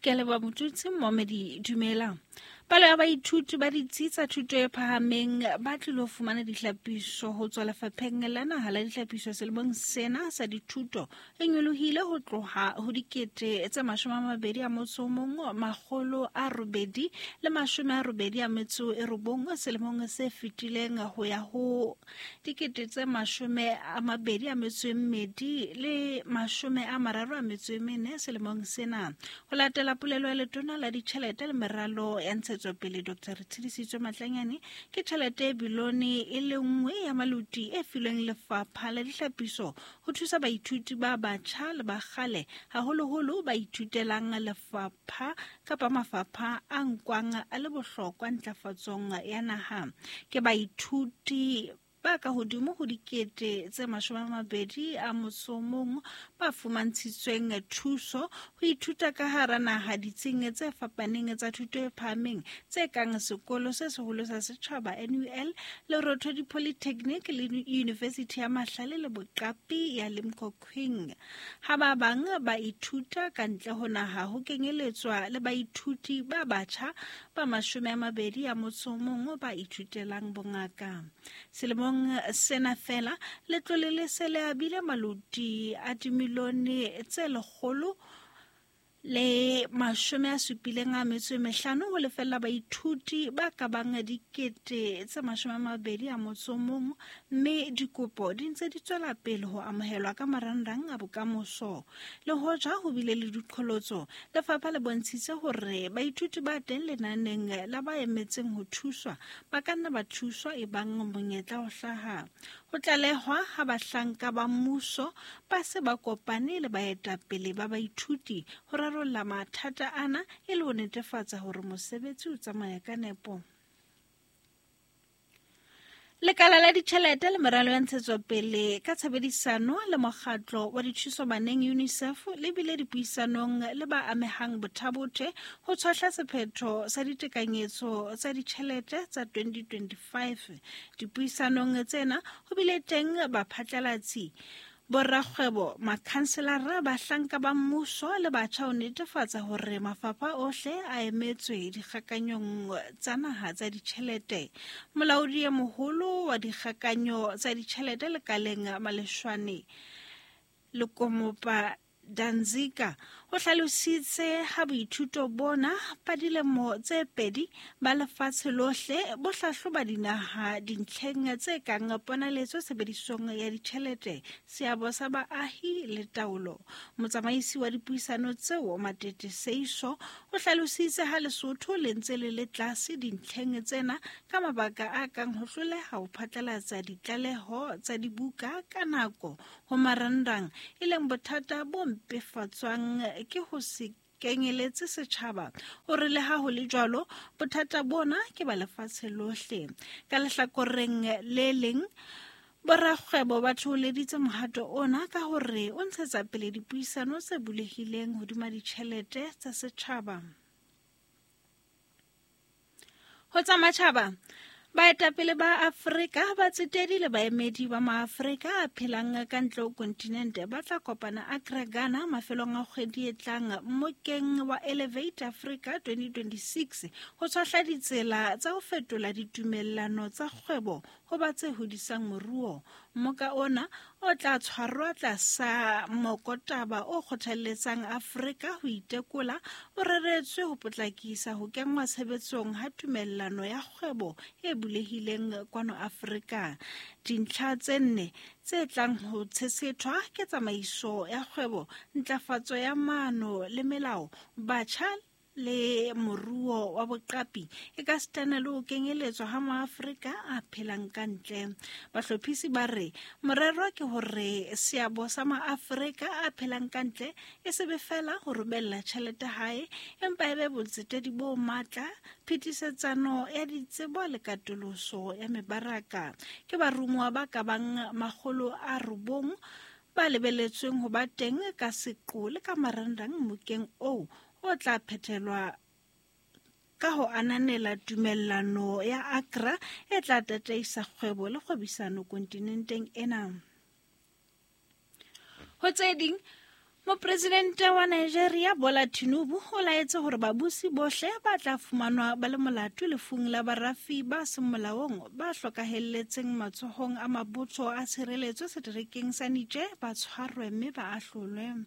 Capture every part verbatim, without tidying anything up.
Ke a leboha Motutsi Momedi, dumela. Palo ya baithuti ba ditsi tsa thuto e phahameng ba tlilo fumana dihlapiso ho tswa lefapheng la naha la dihlapiso selemong sena sa dithuto e nyolohile ho tloha ho dikete tse mashome a mabedi a motso o mong makgolo a robedi le mashome a robedi a metso e robong selemong se fetileng ho ya ho dikete tse mashome a mabedi a metso e mmedi le mashome a mararo a metso e mene selemong sena. Ho latela polelo ya letona la ditjhelete le meralo ya ntshetsopele Doctor Retshidisitswe Matlanyane, ke tjhelete e bilione e le nngwe ya maluti e filweng lefapha la dihlapiso ho thusa baithuti ba batjha le ba kgale, haholoholo ba ithutelang lefapha kapa mafapha a nkwang a le bohlokwa ntlafatsong ya naha. Ke baithuti ba ka hodimo ho dikete tse mashome a mabedi a motso o mong ba fumantshitsweng thuso ho ithuta ka hara naha ditsing tse fapaneng tsa thuto e phahameng tse kang Sekolo se Seholo sa Setjhaba N U L, Lerothodi Polytechnic le University ya Mahlale le Boqapi ya Limkokwing. Ha ba bang ba ithuta ka ntle ho naha ho kenyeletswa le baithuti ba batjha ba mashome a mabedi a motso o mong ba ithutelang bongaka. Selemong sena fela letlole le se le abile maluti a dimilione tse lekgolo le mashome a supileng a metso e mehlano ho lefella baithuti ba ka bang dikete tse mashome a mabedi a motso o mong, mme dikopo di ntse di tswela pele ho amohelwa ka marangrang a bokamoso. Le hoja ho bile le diqholotso, lefapha le bontshitse hore baithuti ba teng lenaneng la ba emetseng ho thuswa ba ka nna ba thuswa ebang monyetla o hlaha. Ho tlalehwa ha bahlanka ba mmuso ba se ba kopane le baetapele ba baithuti ho rarolla mathata ana e le ho netefatsa hore mosebetsi o tsamaya ka nepo. Lekala la ditjhelete le meralo ya ntshetsopele ka tshebedisano le mokgatlo wa dithuso baneng UNICEF le bile dipuisanong le ba amehang bothabothe ho tshwahla sephetho sa ditekanyetso tsa ditjhelete tsa twenty twenty-five. Dipuisanong tsena ho bile teng baphatlalatsi, borakgwebo, makhanselara, bahlanka ba mmuso le batjha ho netefatsa hore mafapha ohle a emetswe dikgakanyong tsa naha tsa ditjhelete. Molaodi e moholo wa dikgakanyo tsa ditjhelete lekaleng Maleshwane Lekomopa Danzika o hlalositse ha boithuto bona ba dilemo tse pedi ba lefatshe lohle bo hlahloba dinaha dintlheng tse kang ponaletso tshebedisong ya ditjhelete, seabo sa baahi le taolo. Motsamaisi wa dipuisano tseo Matete Seiso o hlalositse ha Lesotho le ntse le le tlase dintlheng tsena ka mabaka a kang ho hloleha ho phatlalatsa ditlaleho tsa dibuka ka nako ho marangrang, e leng bothata bo mpefatswang ke ho se kenyeletse setjhaba. O re le ha ho le jwalo, bothata bona ke ba lefatshe lohle. Ka lehlakoreng le leng, borakgwebo ba thoholeditse mohato ona ka hore o ntshetsa pele dipuisano tse bulehileng hodima ditjhelete tsa setjhaba. Ho tsa matjhaba, baetapele ba Afrika ba tsetedi le baemedi ba Maafrika a phelang ka ntle ho kontinente ba tla kopana Accra, Ghana mafelong a kgwedi e tlang mmokeng wa Elevate Africa twenty twenty-six ho tshwahla ditsela tsa ho fetola ditumellano tsa kgwebo ho ba tse hodisang moruo. Mmoka ona o tla tshwarwa tlasa mokotaba o kgothalletsang Afrika ho itekola, o reretswe ho potlakisa ho kenngwa tshebetsong ha tumellano ya kgwebo e bulehileng kwano Afrika. Dintlha tse nne tse tlang ho tshesethwa ke tsamaiso ya kgwebo, ntlafatso ya maano le melao, batjha le moruo wa boqapi e ka sitana le ho kenyeletswa ha Maafrika a phelang ka ntle. Bahlophisi ba re morero ke hore seabo sa Maafrika a phelang ka ntle e se be fela ho romella tjhelete hae, empa e be botsetedi bo matla, phetisetsano ya ditsebo le katoloso ya mebaraka. Ke baromuwa ba ka bang makgolo a robong ba lebeletsweng ho ba teng ka seqo le ka marangrang mmokeng oo o tla phethelwa ka ho ananela tumellano ya Accra e tla tataisa kgwebo le kgwebisano kontinenteng ena. Ho tse ding, Mopresidente wa Nigeria Bola Tinubu o laetse hore babusi bohle ba tla fumanwa ba le molato lefung la barafi ba seng molaong ba hlokahelletseng matsohong a mabotho a tshireletso seterekeng sa Niger ba tshwarwe mme ba ahlolwe.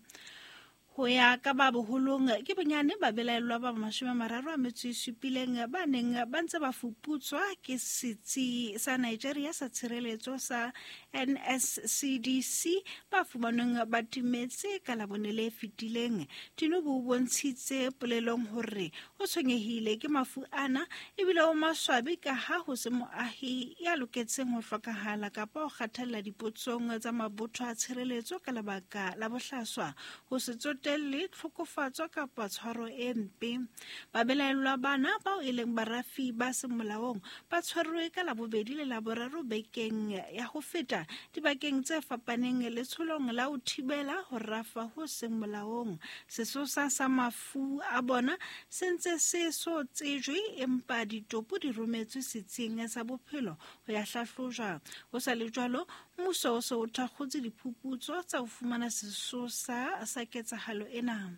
Ho ya ka ba boholong ke bonyane ba belaellwa ba mashome a mararo a metso e supileng ba neng ba ntse ba fuputswa ke setsi sa Nigeria sa tshireletso sa N S C D C ba fumanweng ba timetse ka Labone le fetileng. Tinubu o bontshitse polelong hore o tshwenyehile ke mafu ana ebile o maswabi ka ha ho se moahi ya loketseng ho hlokahala kapa ho kgathalla dipotsong tsa mabotho a tshireletso ka lebaka la bohlaswa, ho se tsotelle tlhokofatso kapa tshwaro e mpe. Babelaellwa bana bao e leng barafi ba seng molaong ba tshwerwe ka Labobedi le Laboraro bekeng ya ho feta dibakeng tse fapaneng letsholong la ho thibela ho rafa ho seng molaong. Sesosa sa mafu a bona se ntse se so tsejwe empa ditopo di rometswe setsing sa bophelo ho ya hlahlojwa. Ho sa le jwalo, mmuso o se o thakgotse diphuputso tsa ho fumana sesosa sa ketsahalo ena.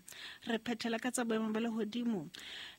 Re phethela ka tsa boemo ba lehodimo.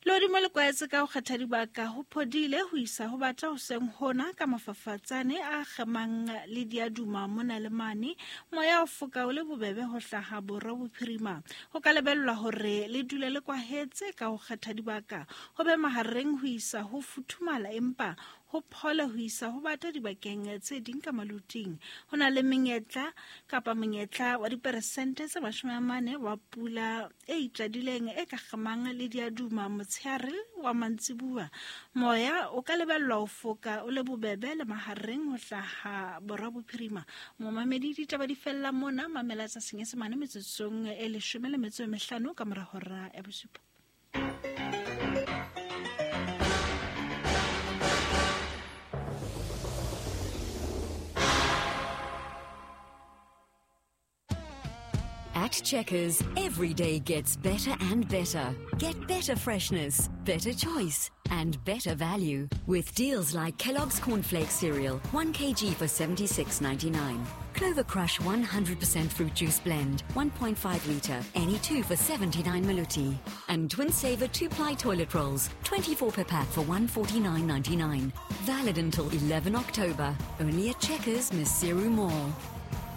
Lehodimo le kwaetse ka ho kgetha dibaka ho phodile ho isa ho bata hoseng hona ka mafafatsane a kgemang le diaduma mona le mane. Moya o foka o le bobebe ho hlaha borwa bophirima. Ho ka lebellwa hore le dule le kwahetse ka ho kgetha dibaka ho be mahareng ho isa ho futhumala empa ho phole ho isa ho bata dibakeng tse ding ka maluting. Ho na le menyetla kapa monyetla wa diperesente tse mashome a mane wa pula e itjadileng e ka kgemang le diaduma motshehare wa mantsibuwa. Moya o ka lebellwa ho foka o le bobebe le mahareng ho hlaha borwa bophirima. Momamedi, ditaba di fella mona. Mamela tsa Senyesemane metsotsong e leshome le metso e mehlano ka mora hora ya bosupa. At Checkers, every day gets better and better. Get better freshness, better choice, and better value. With deals like Kellogg's Cornflakes cereal, one kilogram for seventy-six ninety-nine. Clover Crush one hundred percent fruit juice blend, one point five litre, any two for seventy-nine maluti. And Twin Saver two-ply toilet rolls, twenty-four per pack for one forty-nine ninety-nine. Valid until eleven October. Only at Checkers, Maseru Mall.